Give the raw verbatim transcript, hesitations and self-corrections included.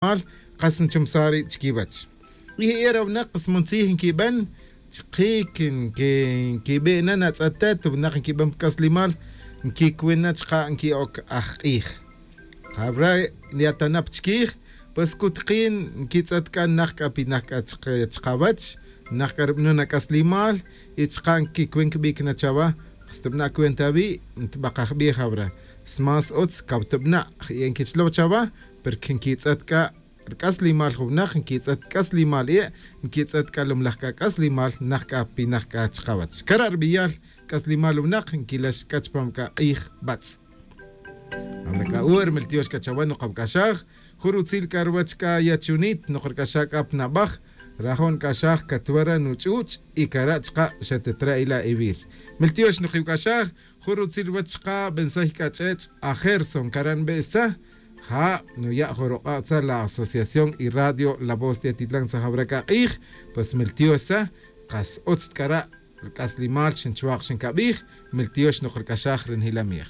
k'aslimal. Kas nchumsaj ri' chikiwech y je' era winak kas muntzij nkiben chki' nkibe' na natz'atet winak nkiben pa k'aslimal. Nkikwin na chka' nki'oc ajk'ij. Jawra' yatanap chkij pues kutkin nkitz'et k'a naj k'a pinaj k'a chkawech. Naj k'a rub'anon ak'aslimal y chka' nkikwin kib'ic na chawa. Kas tub'ana' cuenta awi' ntb'akaj b'ij jawra'. Smás utz kawtub'ana' je' nkichlow chawa. Porque nkitz'et k'a rk'aslimal jun winaq nkitz'et k'aslimal e' nkitz'et k'a lumlaj k'a k'aslimal naj k'a pinaj k'a chkawech kara' rb'iyal. K'aslimal winaq nkilax k'a chupam k'a q'ij b'atz'. Abra k'a ur miltiox k'a chawa noq awuk'axaj jun rutzil k'a ruwech k'a yachunit noq rk'axaj k'a pa nab'aj. Rajo' nk'axaj katwara nuch'uch' y kara' chka' xa tetra' ila' ewir. Miltiox noq iwuk'axaj jun rutzil ruwech chka' bensay k'a ch'ech' ajerson kara' nb'e'saj. Ja' nuya' jun ruq'a' tza la asociación y radio la voz de atitlan tzajawra k'a q'ij. Pues miltiox tza kas utz tk'ara' rk'aslimal xinchwaq xinkab'ij. Miltiox noq rk'axaj ri njilamij.